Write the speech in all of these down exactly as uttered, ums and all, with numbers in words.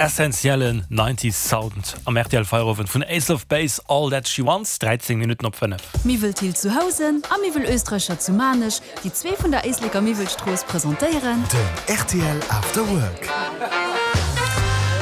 Essentiellen Nineties Sound am R T L Feierowend vun Ace of Base, All That She Wants, dräizéng Minutten op fënnef. Miwwel Thill zu Housen a Miwwel Oesträicher zu Maarnech, déi zwee vun der Éisleker Miwwelstrooss, presentéieren Den R T L After Work.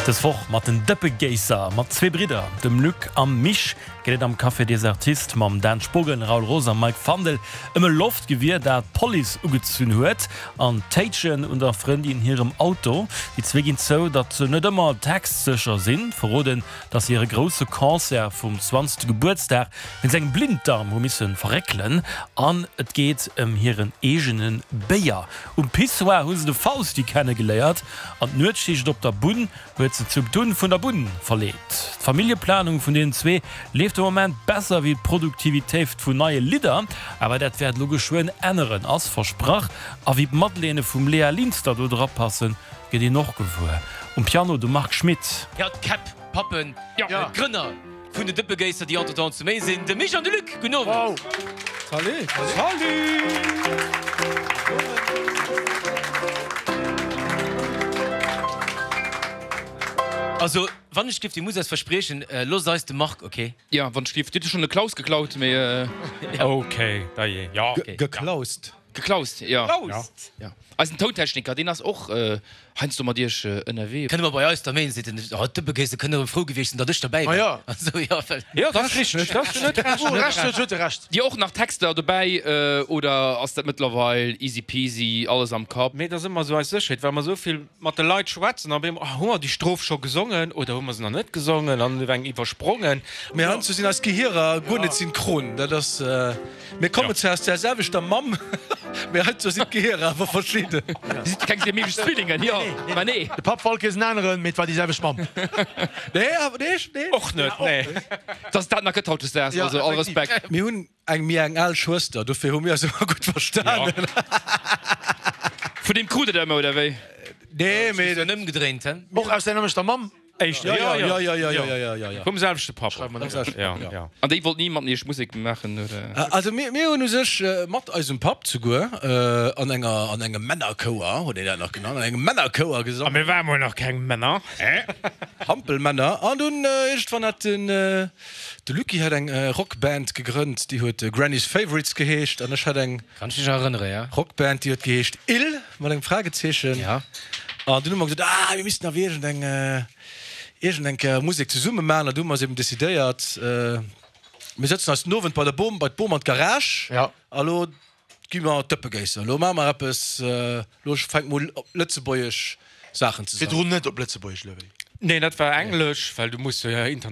Dës Woch mat den Dëppegéisser, mat zwee Bridder, dem Luc a Mich, geet et am Café des Artistes mam Dan Spogen, Raoul Roos a Mike Fandel ëm e Loftgewier, dat d'Police ugezunn huet, an d'Téitschen un der Frëndin hirem Auto. Déi zwee ginn zou, datt se net ëmmer textsécher sinn, verroden, datt se hire grousse Concert vum zwanzegste Gebuertsdag wéinst engem Blinddarm hu misse verréckelen an et geet ëm hiren eegene Béier. Um Pissoir hu se de Fausti kennegeléiert an d'Nuetsschicht op der Bunn huet se zum Tun vun der Bunn verleet. D'Familljeplanung vun deenen zwee leeft de Moment besser wéi d'Produktivitéit vun neie Lidder, awer dat wäert elo geschwënn änneren, ass versprach. A wéi d'Madeleine vum Léa Linster do dra passen, gëtt een och gewuer. Um Piano de Marc Schmitt. Jo, d'Käpp, d'Pappen, d'Grënner vun den Dëppegéisser, déi entretemps zu méi sinn, de Mich an de Luc. Gudden Owend. Salut! Salut! Also, wann ech dierf, Dir musst eis verspriechen, loosst eis de Marc, ok? Jo, wann ech dierf. Dir hutt jo schonn de Klaus geklaut, mee. Ok, dajee, jo. Geklaust. Geklaust, jo. Geklaust. Jo. Eisen Tountechniker, deen ass och heiansdo mat iech ënnerwee. Kënne mer bei eis da méi, seet en, oh, d'Dëppegéisser kënne erëm frou gewiescht sinn, datt ech derbäi war. Also, jo, well. Jo, dat ass richteg, dat ass net recht. Recht huet, huet e Recht. Dir och nach Texter dobäi oder ass dat mëttlerweil easy peasy, alles am Kapp? Mee et ass ëmmer esou eis Sécherheet, well mer esou vill mat de Leit schwätzen an op eemol, ah, hu mer déi Stroph scho gesongen oder hu mer se nach net gesongen an eng iwwersprongen. Mee heiansdo sinn eis Gehierer guer net synchron. Dat ass, mir kommen zwar aus där selwechter Mamm, mee heiansdo sinn d'Gehierer awer verschidden. Dir sidd keng siamesesch Zwillingen, jo, mä nee. De Papp war all Kéiers en aneren, mee et war déi selwecht Mamm. Nee, awer nee, nee. Och net, nee. Dass et dat nach gëtt hautdesdaags, also all Respekt. Mir hunn eng méi eng al Schwëster, dofir hu mir eis ëmmer gutt verstanen. Vun deem krut Der ëmmer, oder wéi? Nee, mee. Just ëmgedréint, he? Och aus där nämmlechter Mamm? Éischter, Jo, jo, jo, jo, jo, jo, jo, jo. Vum selwechte Papp. Jo, jo. An déi wollt ni mat iech Musek maachen, oder? Also mir, mir hunn u sech mat eisem Papp souguer an enger, an engem Männerchouer, huet een dat nach genannt, an engem Männerchouer A gesongen. mir ware mol nach keng Männer. Hampelmänner. An dunn iergendwann hat den, de Lucky hat eng Rockband gegrënnt, déi huet Granny's Favorites geheescht an ech hat eng. Kann ech mech erënnere, ja. Rockband, déi huet geheescht Ill, mat engem Fragezeechen. Ja. An dunn hu mer gesot, ah, mir missten awer iergendeng, iergendeng Kéier Musek zesumme maachen. An du hu mer eis eben decidéiert, mir sëtzen eis den Owend bei der Bom, bei d'Bom an d'Garage. Ja. A lo gi mer d'Dëppegéisser. Lo maache mer eppes, lo fänke mer un, op Lëtzebuergesch Saachen ze sangen. Virdrun net op Lëtzebuergesch, oder wéi? Nee, dat war Englesch, well du muss jo international.